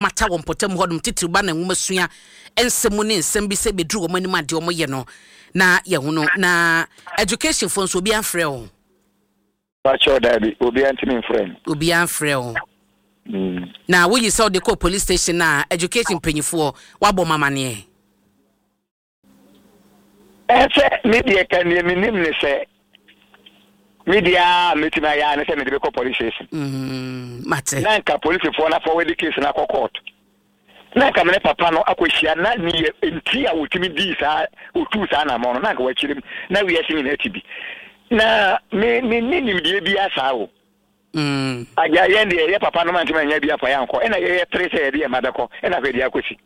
Mata wɔ mpɔtam hɔnom, titiriw ba na nwomasua nsɛm mu ne nsɛm bi sɛ ebeduru wɔn anim a deɛ wɔyɛ no na yɛhu no. Na education foɔ nso obiara mfrɛ wo? Pakyɛw daabi, obiara ntumi mfrɛ me. Obiara mfrɛ wo. Na woyi sɛ wode kɔ police station a education mpanyinfoɔ wabɔ wɔn amaneɛ? Ɛsɛ me deɛ ka neɛ menim ne sɛ me deɛ a mɛtumi ayɛ a ne sɛ mede bɛkɔ police station. Mm, mate. Na nka polisifoɔ no afɔwɛde case no akɔ court. Na nka me ne papa no akɔhyia na neɛ nti a wɔtumi dii saa ɔtuu saa anammɔn no na nka wakyerɛ mu na wiase nyinaa ti bi. Na me me ne nimdeɛ biara saa o. Mm. Agya yɛn deɛ yɛ papa no mantumi anya bi afa yɛn ankɔ ɛna yɛyɛ pere sɛ yɛde yɛn mma bɛkɔ ɛna afei deɛ akɔsi.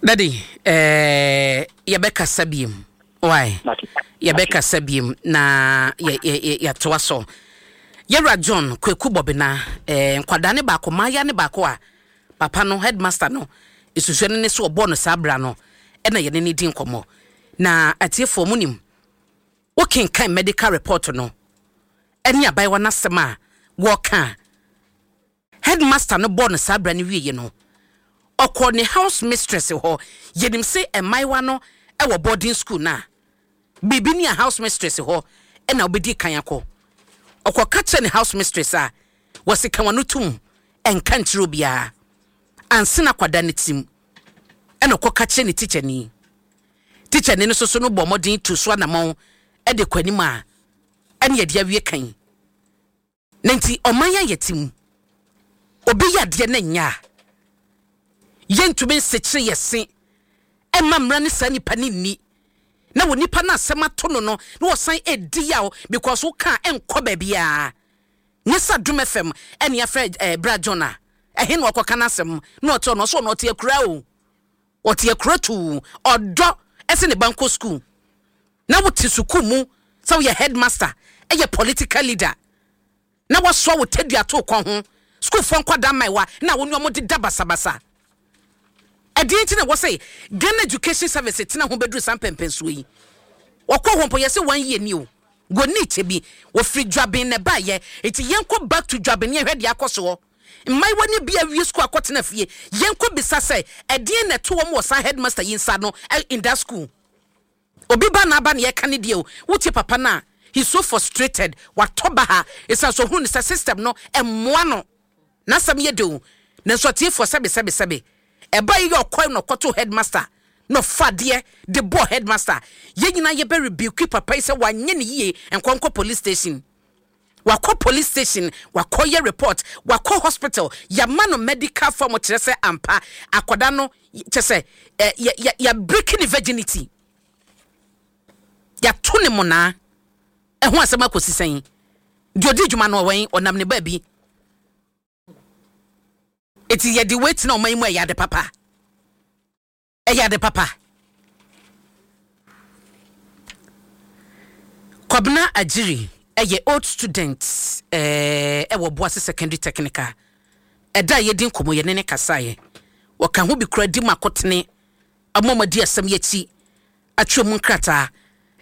Daddy, eh, yɛbɛkasa biem. Why? Yɛbɛkasa biem na yɛatoa so. Yɛwura John Kweku Bɔbena, eh, nkwadaa ne baako, mmaaya ne baako a papa no, headmaster no, esusua no ne so ɔbɔɔ no saa bra no, ɛna yɛne ne di nkɔmmɔ. Na atiefoɔ mo nim, wokenkan medical report no, ɛne abayewa no asɛm a wɔka a, Headmaster no bɔɔ no saa bra no wieɛ no, ɔkɔɔ ne house mistress hɔ. Yɛnim se mmaayewa no wɔ boarding school no a, biribi ni a house mistress hɔ na wobɛdi kan akɔ. Ɔkɔka kyerɛɛ ne house mistress a, wɔse ka w'ano tom, nka nkyerɛ obiara. Ansa na akwadaa no tirim ɛna ɔkɔka kyerɛ ne tikyani. Tikyani no nso so no bɔɔ mmɔden tuu so anamɔn de kɔ anim a ɛne yɛde awie kan. Na nti ɔman a yɛte mu, obi yɛ adeɛ na ɛnyɛ a, yɛntumi nsekyere yɛ se ɛmma mmara ne saa nipa no nni. Na wɔ nipa no asɛm ato no no, na wɔsan ɛdi yaw because wo ka a ɛnkɔ baabiara. Nyɛ sɛ Adom FM ɛne afrɛ eh, Bra John a, ɛhe na ɔkɔka n'asɛm na ɔte ɔno ɔso ɔno ɔte akuraa o. Ɔte akura tuu, ɔdɔ ɛsɛ ne ba nkɔ school. Na wote sukuu mu sɛ woyɛ headmaster, yɛ political leader, na woasoa wo tadua ato wo kɔn ho, sukuufoɔ nkwadaa mmaewa na wo ne wɔn deda basabasa. Ɛdeɛn nti na ɛwɔ sɛ Ghana Education Service tena ho bɛduru saa mpɛnpɛnsoɔ yi? Wɔkɔɔ hɔ mpo yɛse one year ni o, wɔnni kyɛ bi, wɔfiri Dwaben na ɛbaeɛ, nti yɛnkɔ back to Dwaben na yɛnhwɛ deɛ akɔ soɔ. Mmaayewa no bi awie sukuu akɔtena fie, yɛnkɔ bisa sɛ ɛdeɛn na ɛto wɔn wɔ saa headmaster yi nsa ano in that school. Obi ba na aba na yɛka ne deɛ o, wotie papa no a, he's so frustrated, watɔ baha, ɛsiane sɛ ɔhunu no sɛ system no mmoa no. N'asɛm yɛ dɛ o, nanso atiefoɔ sɛbe sɛbe sɛbe. Ɛbaa yi yɛ ɔkɔe na ɔkɔtoo headmaster na ɔfa adeɛ de bɔɔ headmaster. Yɛn nyinaa yɛbɛ rebuke papa yi sɛ wanyɛ ne yie, nkɔ nkɔ police station. Wakɔ police station, wakɔ yɛ report, wakɔ hospital, yama no medical form kyerɛ sɛ ampa akwadaa no kyɛ sɛ ɛ yɛ yɛ yɛ break ne virginity. Yɛato ne monaa. Ɛho asɛm akɔsi sɛn? Deɛ ɔdi dwuma no ɔwɛn, ɔnam ne baabi. Eti yɛde wei tena ɔman yi mu a ɛyɛ ade papa. Ɛyɛ ade papa. Kwabena Agyiri yɛ old student wɔ Boase Secondary Technical. Ɛda a yɛdi nkɔmmɔ yɛne no kasaeɛ. Ɔka ho bi koraa di mu akotene ama wɔadi asɛm yi akyi atwerɛ mu nkrataa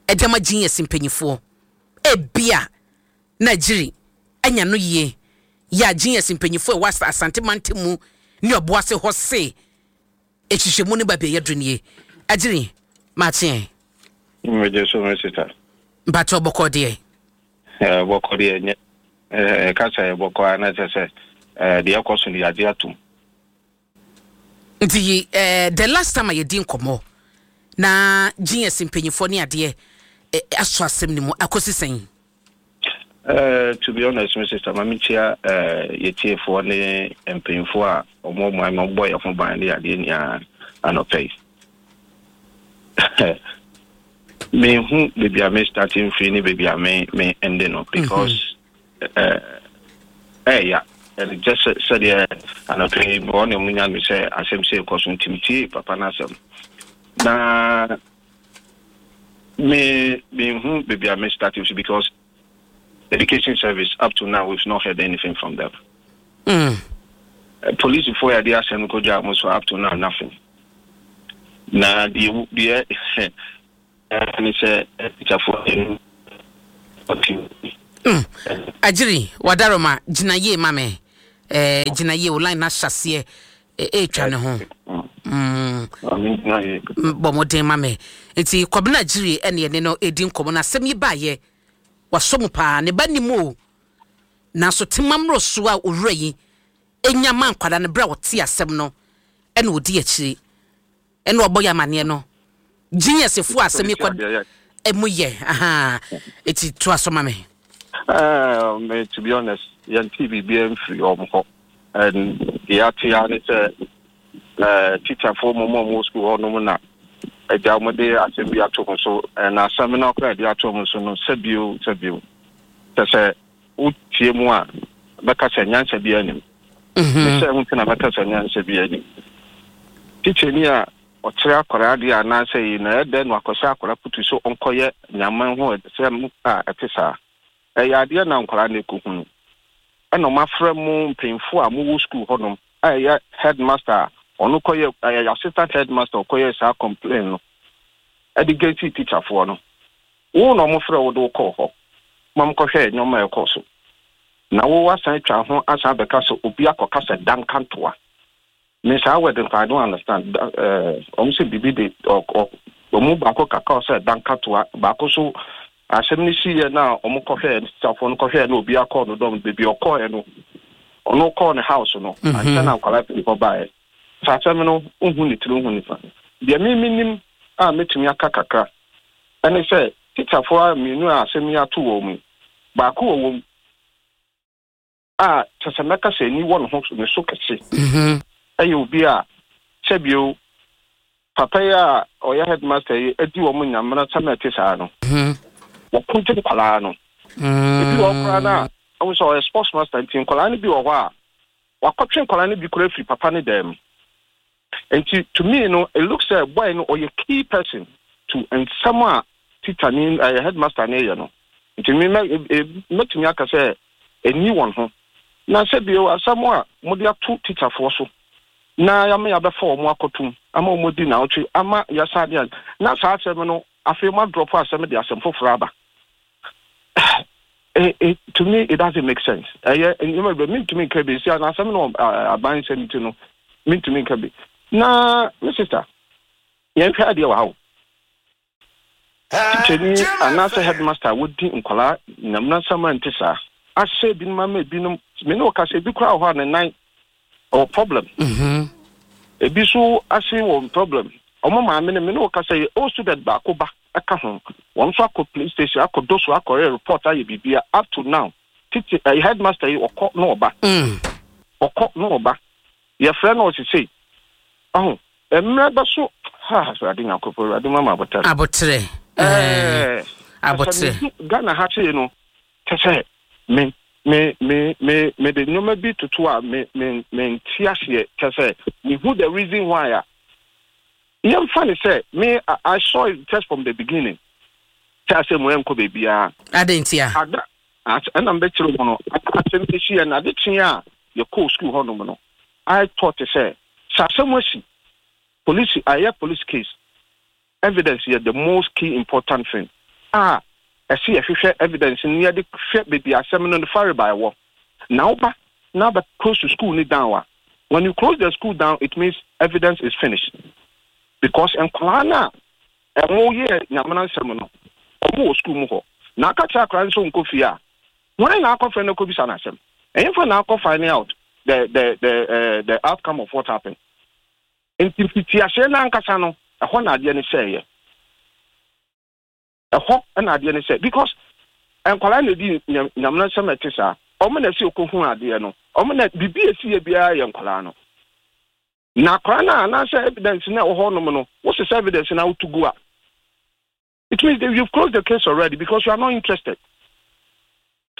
de ama GS mpanimfoɔ. Ebia na Agyiri anya no yie yɛ a GS mpanimfoɔ a ɛwɔ Asante mantam mu ne Ɔboase hɔ se Nhwehwɛmu no baabi a yɛaduru nie. Agyiri, makye ɛ. Megye so me sista. Mpakyɛw bɔkɔɔ deɛ? Eh, bɔkɔɔ deɛ nyɛ. Eh, ɛka sɛ bɔkɔɔ a na kyerɛ sɛ eh, deɛ ɛkɔ so no yɛagye atom. Nti eh, the last time a yɛdi nkɔmmɔ na GS mpanyinfoɔ ne adeɛ eh, asɔ asɛm no mu akɔsi sɛn? To be honest, me sister, ma menkyia uh, yɛtiefoɔ ne mpanyinfoɔ a wɔn ɔman ma wɔbɔ yɛn ho ban ne adeɛ nyinaa anɔpɛ yi. Mehu baabi a me starting firi ne baabi a me me ende no because ɛɛya ɛde gyɛ sɛ sɛdeɛ anɔpɛ yi wɔn na wɔn nya me sɛ asɛm sɛ ɛkɔ so nti metie papa no asɛm na Me me hu baby a me start so because education service up to now we've not heard anything from them. Mm. Police for ya de asɛm ko gya mo so up to now nothing. Na deɛ deɛ ne sɛ teacherfoɔ ɛnu ɔte. Mm. Agyiri wadaroma gyina yie ma me. Eh, gyina yie, wo line no ahyɛ aseɛ ɛretwa ne ho. Mm. Bɔ mmɔden ma me. Nti Kwabena Agyiri ɛne ɛne no ɛdi nkɔmmɔ no asɛm yi baayɛ. Wasɔ mu paa, ne ba nim o. Nanso tema mmoroso a owura yi nya ma nkwadaa no berɛ a ɔte asɛm no ɛna ɔdi akyire. Ɛna ɔbɔ yɛ amaneɛ no. Genius fo asɛm yi kɔ ɛmu yɛ ahaa eti to aso ma me. Uh, me, to be honest, yɛnte biribiara mfiri wɔn hɔ. And deɛ ate ara ne sɛ uh, teacherfoɔ mmom a wɔwɔ sukuu hɔnom na agya wɔn de asɛm bi ato ho so. And asɛm no koraa de ato wɔn so no, sɛbio sɛbio. Kyɛ sɛ wotie mu a, bɛka sɛ nyansa biara nim. Ne sɛ ho nti na mɛka sɛ nyansa biara nim. Tikyani a ɔkyerɛ akwadaa adeɛ anaasɛ yi na ɛyɛ dɛn na wakɔhyɛ akwadaa putu sɛ ɔnkɔyɛ nyaman ho ɛsɛm a ɛte saa? Ɛyɛ adeɛ na nkwadaa no ɛkɔhunu. Ɛna wɔafrɛ mo mpanyinfoɔ a mowɔ sukuu hɔnom a ɛyɛ headmaster a ɔno kɔyɛ ɛyɛ assistant headmaster ɔkɔyɛ saa complain no ɛde gɛsi teacherfoɔ no. Wo na wɔfrɛ wo de wo kɔɔ hɔ ma mokɔhwɛɛ nneɛma a ɛkɔɔ so. Na wo asan atwa ho asan abɛka sɛ obi akɔka sɛ dankantoa. Me saa word no I don't understand. Da eh, wɔn sɛ biribi de ɔ ɔ wɔn mu baako kaka sɛ dankatoa, baako so asɛm no si yɛ na wɔn kɔhwɛɛ sitafoɔ no kɔhwɛɛ na obi akɔɔ no dɔm beebi ɔkɔɔɛ no ɔno kɔɔ ne house no mhm. ansa na nkwadaa pii hɔ baeɛ. Saa asɛm no nhu ne tiri nhu ne fa. Deɛ me menim a mɛtumi aka kakra ɛne sɛ tikyafoɔ a mmienu a asɛm yi ato wɔn mu baako wɔ wɔm a kyerɛ sɛ mɛka sɛ ani wɔ ne ho ne so kɛse. Ɛyɛ obi a sɛbio papa yi a ɔyɛ headmaster yi adi wɔn nyamena sɛm a ɛte saa no. Wɔko gye nkwadaa no. Ebi wɔ hɔ koraa no a, ɔhu sɛ ɔyɛ sports master nti nkwadaa no bi wɔ hɔ a wakɔtwe nkwadaa no bi koraa afiri papa no dan mu. Nti to me no, it looks sɛ boy no ɔyɛ key person to nsɛm a teacher ni ɛyɛ headmaster no yɛ no. Nti me mɛ mɛtumi aka sɛ ɛnni wɔn ho. Na sɛ bio asɛm a mode ato teacherfoɔ so na yɛama yɛabɛfa wɔn akɔtom ama wɔn adi naawɔtwe ama yɛasan de na saa asɛm no afei mo adrɔpo asɛm de asɛm foforɔ aba. It, it, to me it doesn't make sense. Ɛyɛ nneɛma bi mentumi nka bi si asɛm no aban nsɛm ti no mentumi nka bi. Na me sister yɛnhwɛ adeɛ wɔ ha o. Tikyani anaasɛ headmaster a wodi nkwadaa nyamnasɛm a nte saa ahyɛ ebinom ama ebinom me ne ɔkasa ebi koraa wɔ hɔ a ne nan ɔwɔ problem. Mm-hmm. Ebi so ase wɔ problem. Ɔmo maame no me ne ɔkasa yi old student baako ba ɛka ho. Wɔn nso akɔ police station akɔ doso akɔyɛ report ayɛ biribi up to now. Titi ɛyɛ headmaster yi ɔkɔ na ɔba. Mm. Ɔkɔ na ɔba. Yɛfrɛ no ɔse sei. Ɔho, mmerɛ bɛso, ha, Awurade Nyankopɔn, Awurade ma me aboterɛ. Aboterɛ, ɛɛ, aboterɛ. Sɛ medu Ghana ha sei no, kyɛ sɛ me, me, me, me, me de nneɛma bi toto a me, me, me nte aseɛ, kyɛ sɛ mehu the reason why a, yɛmfa ne sɛ me, I saw it just from the beginning, sɛ asɛm wei ɛnkɔ baabiara. Adɛn ntia? Ada, ɛna mbɛkyerɛ mu no, asɛm bi si yɛ na ade kye a yɛkɔɔ sukuu hɔnom no, I thought sɛ, sɛ asɛm asi, police, ayɛ police case, evidence yɛ the most key important thing a ɛsɛ yɛhwehwɛ evidence no yɛde hwɛ baabi asɛm no ne farebae wɔ. Na woba na abɛ close school no down a, when you close the school down, it means evidence is finished. Because nkwadaa no a ɛmo yɛ nyamena nsɛm no, ɔmo wɔ school mu hɔ. Na aka kyerɛ akwadaa no sɛ ɔnkɔ fie a, Hwan na akɔfrɛ no akɔbisa no asɛm? Ɛhefa na akɔ finding out the the the uh, the outcome of what happened? Nti mfitiaseɛ no ankasa no, ɛhɔ na adeɛ no sɛeɛ. Ɛhɔ na adeɛ no sɛ because nkwadaa na ɛdi nyamena nsɛm a ɛte saa. Wɔn na ɛsɛ ɔkɔhu adeɛ no. Wɔn na biribi a ɛsi yɛ biara yɛ nkwadaa no. Na akwadaa no a anaasɛ evidence no a ɛwɔ hɔ nom no, wosesa evidence no a woto gu a, It means that you've closed the case already because you are not interested.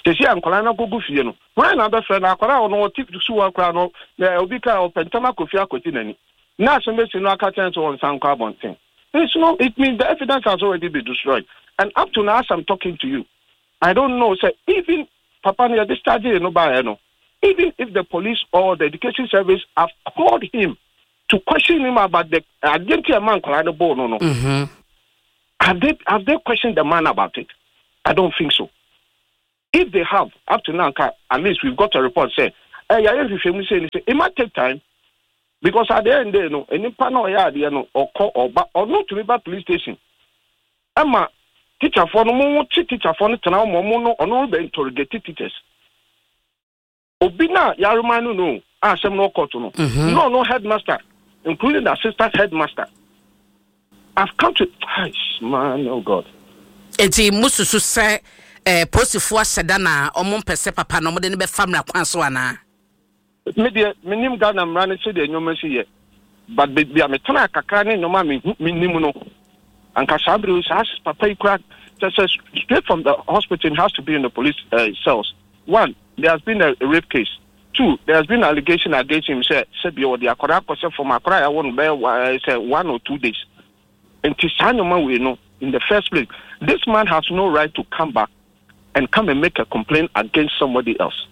Sisi a nkwadaa no akɔgu fie no, hwan na abɛfrɛ no? Akwadaa a ɔno ɔte suwa koraa no, na obi ka ɔpɛ ntɛm akɔ fie akɔgye n'ani. Na asɛm bɛsi no aka kyerɛ sɛ ɔnsan nkɔ abɔnten. It's no, it means the evidence has already been destroyed. And up to now, as I'm talking to you, I don't know, sɛ even papa no yɛ discharge no baeɛ no, even if the police or the education service have called him to question him about the adeɛ nti a ɛma nkwadaa no bɔɔ no no. Mm-hmm. Have they have they questioned the man about it? I don't think so. If they have, up to now, at least we've got a report say. Yɛayɛ nhwehwɛmu sei ne sɛ it might take time because at the end day no, nipa na ɔyɛ adeɛ no, ɔkɔ ɔba, ɔno tumi ba police station ɛma teacherfoɔ no mo kye teacherfoɔ no tena ɔmo ɔmo no, ɔno bɛ interrogate teachers. Obi na yarema no a asɛm no ɔkɔto no no no headmaster, including the assistant headmaster. I've come to, man, oh God. Nti mususu sɛ polisifoɔ ahyɛ da na ɔmo mpɛ sɛ papa na ɔmo de no bɛfa mmara kwan so anaa? Me deɛ, menim Ghana mmara no sɛdeɛ nneɛma si yɛ, but baabi a metena kakra ne nneɛma a mehu menim no, anka saa bere saa papa yi kora kyɛ sɛ straight from the hospital has to be in the police cells. One, there has been a rape case. Two, there has been allegation against him sɛ sɛbi ɔde akwadaa akɔsɛ fam, akwadaa a yɛawɔ no bɛyɛ sɛ 1 or 2 days. Nti saa nneɛma wei no, in the first place, this man has no right to come back and come and make a complaint against somebody else.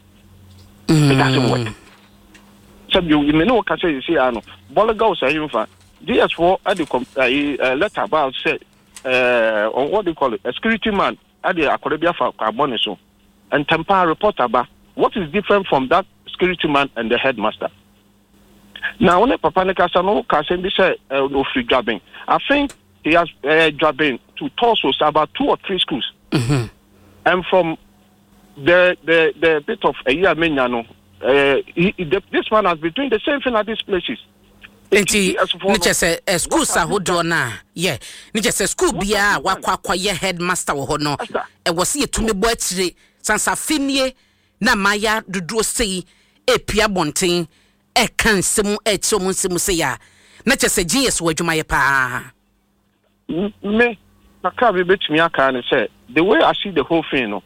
It doesn't work. Sɛbi me ne wo kasa yi si ano Bɔlga wo sɛ nfa GS foɔ ɛde kɔm ɛyi letter ba sɛ what do you call it, a security man ɛde akɔda bi afa abɔ ne so ntɛmpa report aba. What is different from that security man and the headmaster? Na wo ne papa ne kasa no, ka asɛm bi sɛ ofiri Dwaben. I think he has Dwaben to Torso, about two or three schools, and from the bit of a year menya no, this man has been doing the same thing at these places. Nti ne kyɛ sɛ schools ahodoɔ no a yɛ ne kyɛ sɛ school biara a wakɔ akɔyɛ headmaster wɔ hɔ no, ɛwɔ sɛ yɛtumi bɔ akyire sansafe nie na mmaayɛ dodoɔ sei epia abɔnten ɛka nsɛm ɛkyerɛ ɔmo nsɛm sei a, na kyɛ sɛ GS wɔ adwumayɛ paa. Me kakra bi betumi aka ne sɛ the way I see the whole thing no,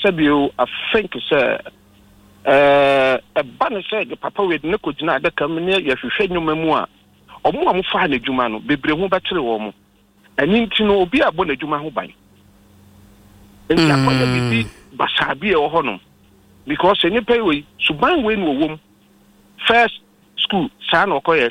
sɛbio I think sɛ ɛba ne sɛ de papa wei de ne kɔgyina adaka mu ne yɛhwehwɛ nnwoma mu a, ɔmo a mofaa n'adwuma no bebree ho bɛkyere wɔn mo. Ɛno nti no, obi a bɔ n'adwuma ho ban nti akɔyɛ biribi basaa bi a ɛwɔ hɔ nom, because nipa yi wei suban wei na ɔwɔ mu first school saa na ɔkɔyɛ.